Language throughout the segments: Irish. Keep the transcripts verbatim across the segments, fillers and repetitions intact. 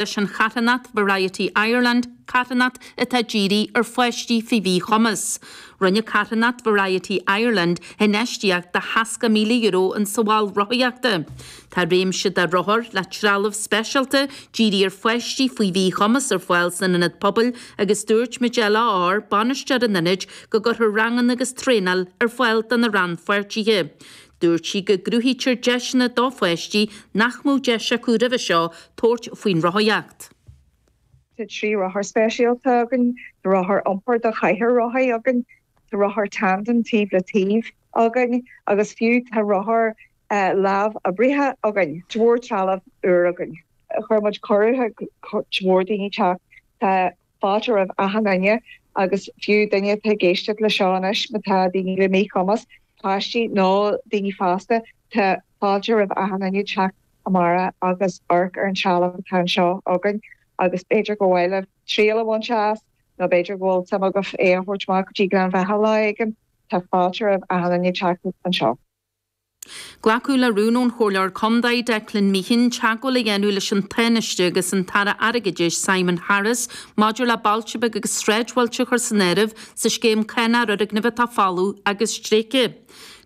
leis an charthanacht Variety Ireland, carthanacht atá dírithe ar pháistí faoi mhíchumas. Rinne carthanacht Variety Ireland infheistíocht de sheasca míle euro insa mhol rothaíochta. Tá réimse de rothair le trealamh speisialta dírithe ar pháistí faoi mhíchumas ar fáil san ionad pobail agus dúirt Majella Orr, bainisteoir an ionaid, go gcuirfear ranganna agus traenáil ar fáil do na rannpháirtithe. Dúirt sí go gcruthaítear deiseanna do pháistí nach mbeadh deis acu roimhe seo tabhairt faoin rothaíocht. Tá trí rothar speisialta againn, tá rothar iompair do chathaoir rothaí againn, tá rothar tandem taobh le taobh againn agus fiú tá rothar lámh-oibrithe againn. Tá mhór trealamh úr againn. Chuir muid cuireadh chuig mhór daoine teacht. Tá fáilte roimh achan duine agus fiú duine atá ag éisteacht le seo anois má tá daoine le míchumas, páistí nó daoine fásta, tá fáilte roimh achan duine teacht amárach agus amharc ar an trealamh atá anseo againn agus b'fhéidir go bhfuil libh triail a bhaint as nó b'fhéidir go bhfuil suim agaibh é a thabhairt amach go dtí Gleann Bheatha lá éigin, tá fáilte roimh achan duine teacht anseo. Glacadh le rún ón Chomhairleoir Contae Declan Meehan teagmháil a dhéanamh leis an Tánaiste agus an tAire Airgeadais Simon Harris maidir le bailte beaga agus sráidbhailte a chur san áireamh sa scéim cánach ar fhoirgnimh atá folamh agus tréigthe.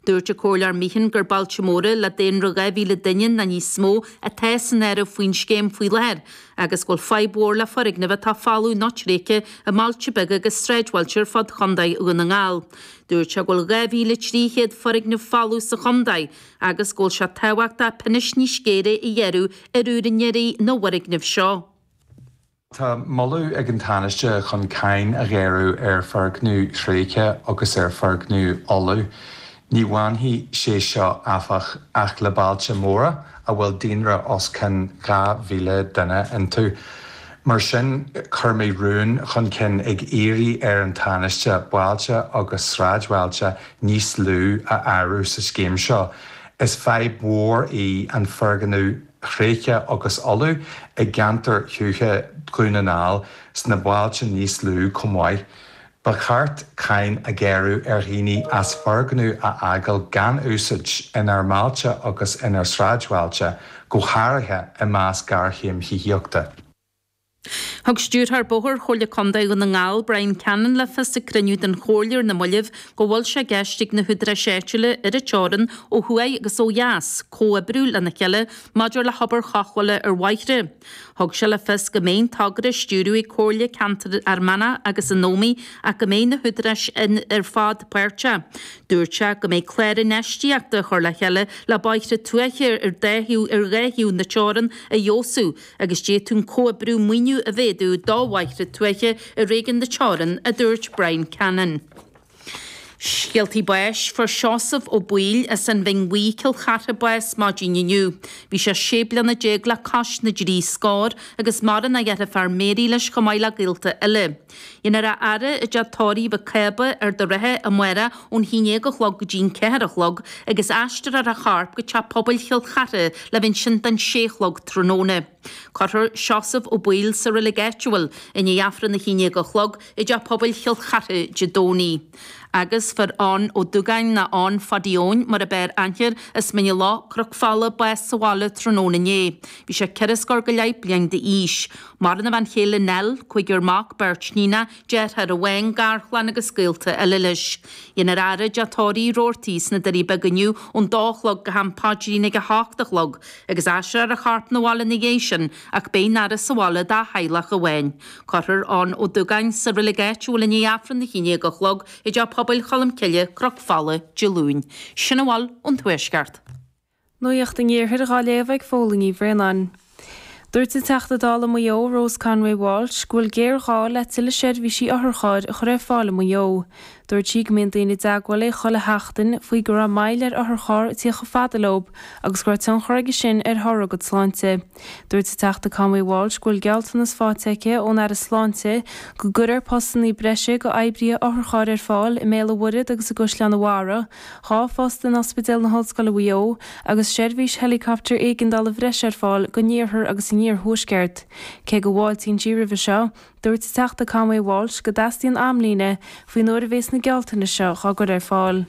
Dúirt an Comhairleoir Meehan gur bailte móra le daonra dhá mhíle duine nó níos mó atá san áireamh faoin scéim faoi láthair agus go bhfuil fadhb mhór le foirgnimh atá folamh nó tréigthe i mbailte beaga agus sráidbhailte ar fud Chontae Dhún na nGall. Dúirt sé go bhfuil dhá mhíle trí chéad foirgneamh folamh sa chontae agus go bhfuil sé tábhachtach pionóis níos géire a ghearradh ar úinéirí na bhfoirgneamh seo. Tá moladh ag an Tánaiste chun cáin a ghearradh ar fhoirgnimh thréigthe agus ar fhoirgnimh fholamh. Ní bhainfidh sé seo áfach ach le bailte móra a bhfuil daonra os cionn dhá mhíle duine iontu. Mar sin, chuir mé rún chun cinn ag iarraidh ar an Tánaiste bailte agus sráidbhailte níos lú a áireamh sa scéim seo. Is fadhb mhór í an foirgneamh thréigthe agus fholamh i gceantar thuaithe Dhún na nGall sna bailte níos lú chomh maith. Ba cheart cáin a ghearradh ar dhaoine as foirgneamh a fhágáil gan úsáid inár mbailte agus inár sráidbhailte, go háirithe i measc géarchéim thithíochta. Thug Stiúrthóir Bóthair Chomhairle Contae Dhún na nGall, Brian Cannon, le fios ag cruinniú den Chomhairle ar na mallaibh go bhfuil sé i gceist ag na húdaráis áitiúla ar an teorainn ó thuaidh agus ó dheas comhoibriú lena chéile maidir le hobair chothabhála ar bhóithre. Thug sé le fios go mbeidh an togra á stiúradh ag Comhairle Ceantair Fhear Manach agus an Ómaigh ach go mbeidh na húdaráis ar fad páirteach. Dúirt sé go mbeidh clár infheistíochta á chur le chéile le bóithre tuaithe ar dá thaobh ar dhá thaobh na teorann a fheabhsú agus d'fhéadfadh an comhoibriú maoiniú a mhéadú do bhóithre tuaithe i réigiún na teorann, a dúirt Brian Cannon. Scéaltaí báis, Fuair Seosamh Ó Baoill as an Bhinn Bhuí, Cill Chartha bás maidin inniu. Bhí sé sé bliana déag le cois na dtrí scór agus maireann a dheirfiúr Mary leis chomh maith le gaolta eile. Déanfar a fhaire i dteach tórraimh Mhic Cába, Ard an Rátha amárach ón haon déag a chlog go dtí an ceathair a chlog agus aistreofar a chorp go Teach Pobail Chill Chartha le bheith ansin don sé a chlog tráthnóna. Cuirfear Seosamh Ó Baoill sa reilig áitiúil i ndiaidh Aifreann a haon déag a chlog i dTeach Pobail Chill Chartha Dé Domhnaigh. Agus fuair Eoin Ó Dúgáin nó Eoin Phadaí Eoin mar ab fhearr aithne air as Mín an Loch, Cnoc Fola, bás sa bhaile tráthnóna inné. Bhí sé ceithre scór go leith bliain d'aois. Maireann a bhean chéile Nell, cúigear mac, beirt níonacha, deartháir amháin, garchlann agus gaolta eile leis. Dhéanfar a fhaire i dTeach Tórraimh Roarty sna Doirí Beaga inniu ón dó a chlog go ham paidrín ag a hocht a chlog agus aistreofar a chorp 'na bhaile ina dhiaidh sin ach beidh an fhaire sa bhaile dá theaghlach amháin. Cuirfear Eoin Ó Dúgáin sa reilig áitiúil i ndiaidh Aifreann a haon déag a chlog i dTeach Pobail Cholmcille, Cnoc Fola, Dé Luain. Sin a bhfuil ón Tuaisceart. Nuacht an Iarthair dhá léamh ag Fódhla Ní Bhraonáin. Dúirt an Teachta Dála Maigh Eo, Rose Conway Walsh, go bhfuil géarghá le tuilleadh seirbhísí otharchairr a chur ar fáil i Maigh Eo. Dúirt sí go mbíonn daoine i dteagmháil léi chuile sheachtain faoi go raibh moill ar otharcharr ag tíocht chomh fada leo agus go raibh tionchar aige sin ar thoradh a gcuid sláinte. Dúirt an Teachta Conway Walsh go bhfuil gealltanas faighte aici ón Aire Sláinte go gcuirfear postanna breise go oibrithe otharchairr ar fáil i mBéal an Mhuirthead agus i gCaisleán an Bharraigh, dhá phost in Ospidéal na hOllscoile Mhaigh Eo agus seirbhís helicopter éigeandála bhreise ar fáil don iarthar agus an iarthuaisceart. Cé go bhfáiltíonn sí roimhe seo, dúirt an Teachta Conway Walsh go dteastaíonn amlíne faoin uair a bhéas na gealltanais seo á gcur ar fáil.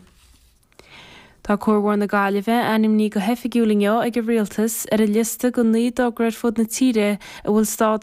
Tá Cuarbhóthar na Gaillimhe ainmnithe go hoifigiúil inniu ag an Rialtas ar an liosta de naoi dtogra ar fud na tíre a bhfuil stádas